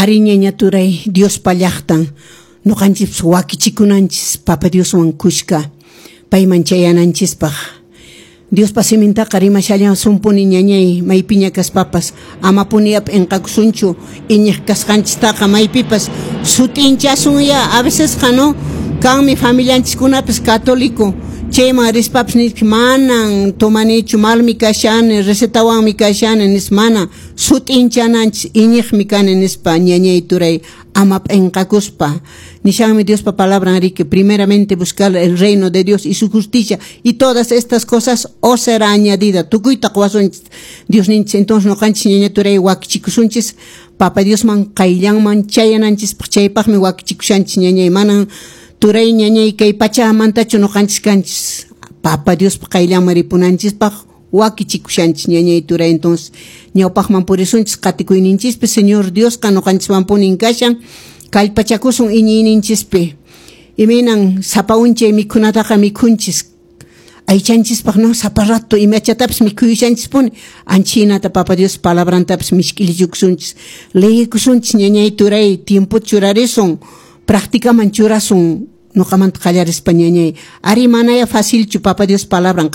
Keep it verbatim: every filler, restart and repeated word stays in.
Ari, ñaña turay, Diospa llaqtan ñuqanchikpas wakichikunanchis Papa Dioswan kushka payman chayananchispaq. Diospa simintaqa rimashallasunpuni, ñañay, maypiña kaspapas amapuni p'inqakusunchu iñiq kasqanchistaqa, maypipas sut'inchasunya. A vecesqa, no, kanmi familianchiskunapas católico, chayman rispapas nispa: "Manan tomanichu, malmi kashani, recetawanmi kashani", nispa. Mana, sut'inchananchis "iñiqmi kani" nispa, ñañay turay, ama p'inqakuspa. Nishanmi Diospa palabran riki: "Primeramente buscar el reino de Dios y su justicia, y todas estas cosas os será añadida". Tukuyta quwasunchis Diosninchis. Entonces ñuqanchis, ñaña turay, wakichikusunchis Papa Diosman qayllanman chayananchispaq. Chaypaqmi wakichikushanchis, ñañay. Manan, turay, ñañay, kay pachamantachu ñuqanchis kanchis. Papa Diospa qayllanman ripunanchispaq wakichikushanchis, ñañay turay. Entonces ñawpaqman purisunchis qatikuyninchispi. Señor Diosqa ñuqanchiswanpunin kashan. Kallpachakusun iñiyninchispi. Imaynan sapa unchay mikhunataqa mikhunchis aychanchispaq, no, sapa rato imachatapis mikhuyushanchispuni, anchinata Papa Dios palabrantapis mishk'ilichukusunchis, leyikusunchis, ñañay turay, tiempo churarisun, practicaman churasun, ñuqamanta qallarispa, ñañay. Ari, manaya facilchu Papa Dios palabran.